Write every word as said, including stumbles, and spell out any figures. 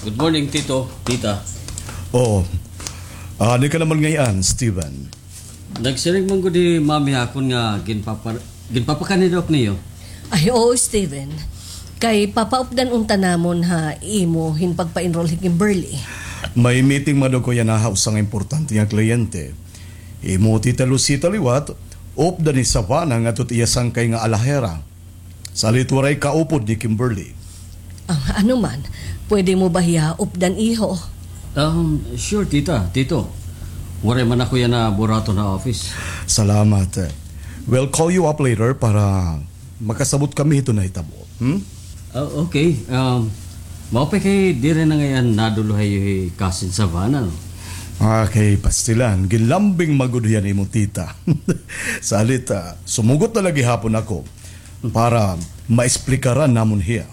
Good morning, Tito, Tita. Oh, ah, ano ka naman ngay-an, Steven? Nagsiring man gud hi Mami ha akon nga ginpapa-, ginpapakanidok niyo. Ay, oo, Steven. Kay papaupdan unta namon ha imo hin pagpa-enroll hi Kimberly. May meeting man daw ko yana ha usa nga importante nga kliyente. Imo Tita Lucita liwat, updan hi Savannah ngadto ha iya sangkay nga alahera. Salit waray kaupod ni Kimberly. Ah, ano man, pwede mo ba hiya updan, iho? Um, sure, tita, tito. Waray man ako yana buraton ha office. Salamat. We'll call you up later para makasabot kami hito nahitabo. Hmm? Ah, okay. Um, maupay kay diri na ngay-an nadul-o ha iyo hi Cousin Savannah, no? Okay, pastilan. Ginlambing man gud hiya ni imo tita. Salit, ah, sumugot na la gihapon ako para maesplikaran namon hiya.